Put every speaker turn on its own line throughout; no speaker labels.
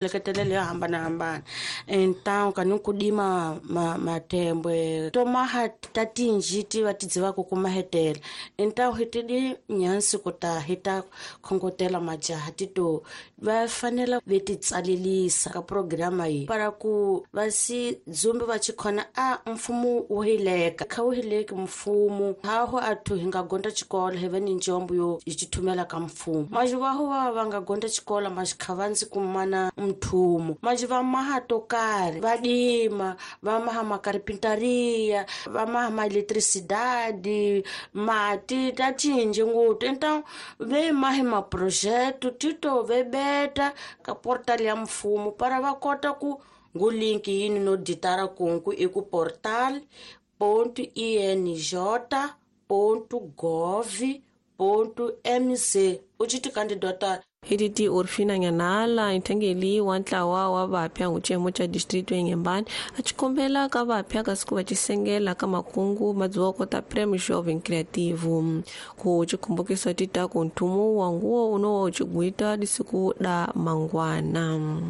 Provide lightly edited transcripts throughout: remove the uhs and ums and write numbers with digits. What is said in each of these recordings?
Leketelelo yo hambanahambana então kani kudima matembwe tomaha ta tinji ti va ti dzivaka ku mahetela então hi ti nyansi ku ta hi ta khongotela majaha ti to va fanela ve ti tsalelisa ka programa yi para ku va si dzumbi va chikhona a mfumo wu hileka kha wu hileki mfumo haho athu hi nga gonda xikolo hi ve ni njombo yo hi chithumela ka mfumo maji vaho va va nga gonda xikolo maxikhavandzi kumana mthumo maji va maha to karhi va dima va maha makaripintaria va maha maeletricidade mati ta cinci ngopfu então ve mahi maprojeto tito ve beta ka portal ya mfumo para va kota ku ngu link yini no ditara kunku i ku portal ponto inj ponto gov ponto mc u ci kandidata
Editi Orfina Nyanala ithengeli wa ntlawa wa vapya ngucemo cha distrito eNyembani a chikombela ka vapya ka siku va cisengela ka makungu madziwa kota Prêmio Jovem Criativo ku chikumbukisa tita ku nthumu wa nguwo unowa uchigwita disiku da mangwana.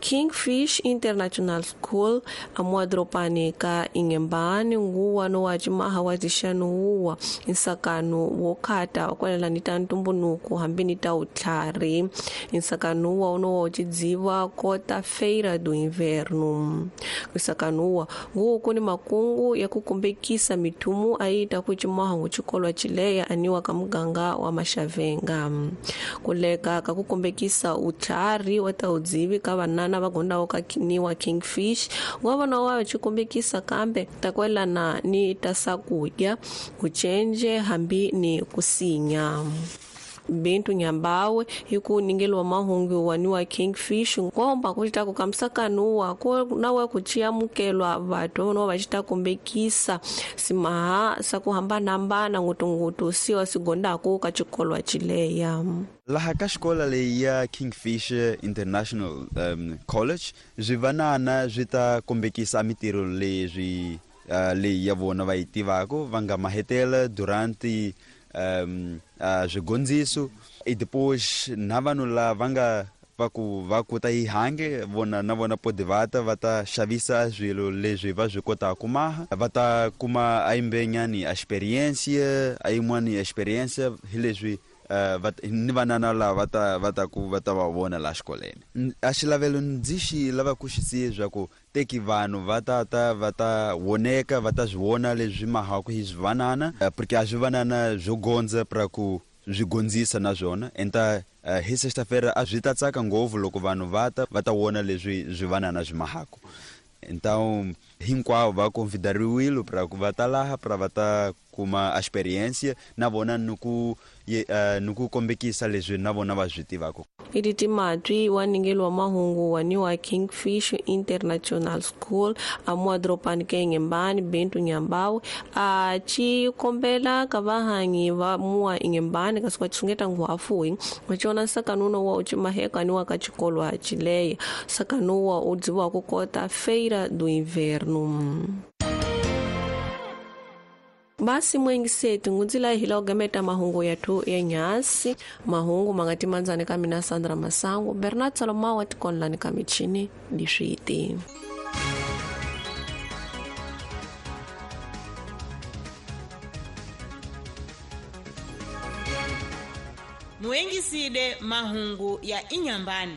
Kingfish International School amuadropani ka Inhembane nguwa no wa cimaha wa tixanu wuwa insakano wo khata wakwalela ni ta ntumbunuku hambi ni ta utlhari insakano wa uno wa cidziva kota Feira do Inverno insakano wa nguwo kuni makungu ya kukumbekisa mithumu aita ku cimaha ngucikolwa cileya aniwa ka muganga wa Maxavenga kuleka ka kukumbekisa utlhari wa ta udzivi ka vana va gondawo ka niwa Kingfish wa vona wa chikombekisa kambe takwelana ni ta sakudya kuchenje hambi ni kusinya. Bintu Nyambawe hiku ningelo mahungu wa niwa Kingfish ngomba kuchita kukamsakanuwa ko nawe kuchiamukelwa vathu no vachita kumbekisa simaha sakuhambanahambana ngutungutu siwa sigondako ka chikolwa chileya.
Laha ka xikola leyi ya Kingfish International College swivanana swi ta kombekisa mitirho leswi leyi ya vona va yi tivaka va nga mahetela durante swigondziso e depois na vanhu lava nga va ku va kuta hi hange vona na vona pode vata va ta xavisa swilo leswi va swi kotaka ku maha va ta kuma a yimbenyani experiência a yin'wani experiência hi leswi ni vanana lava va ta ku va ta va vona la xikoleni. A xilavelo ndzi xi lava ku xi siya swa ku teki vanhu va ta va ta voneka va ta swi vona leswi mahaku hi swivanana porque a swivanana swo gondza pra ku swi gondzisa na swona enta hi sexta-feira a swi ta tsaka ngopfu loko vanhu va ta vona leswi swivanana swi mahaku. Então hinkwavo va convidariwile pra ku va ta laha pra va ta kuma experiência na vona ni ku kombekisa leswi na vona va swi tivaka.
Editi Matwi wa ningelo wa mahungu wa niwa Kingfish International School amuadropani ke Inhembane Bintu Nyambawe a chikombela ka vahanyi va mua Inhembane kasi wa tshungeta nguhafuhi wa chona sakanuno wa uchimaheka niwa ka chikolwa chileya sakanuwa udziwa ku kota Feira do Inverno. Basi mwengisetu ngunzila hila ogameta mahungu yatu ya nyasi mahungu mangati manzani kamina Sandra Masango Bernard Salomao atikonlani kamichini dishiti.
Mwengiside mahungu ya Inhambane.